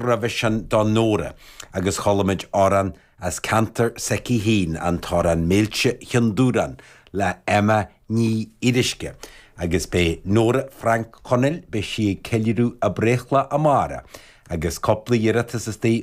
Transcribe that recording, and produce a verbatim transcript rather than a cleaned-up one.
roimhe sin do Nóra agus chuala muid amhrán as ceantar s'aici féin an t-amhrán Méilte Chionn Dúráin le Emma Ní Fhíoruisce. Agus beidh Nóra Frainc Chonaill beidh sí ag ceiliúradh a breithlá amárach agus cúpla iarratas istigh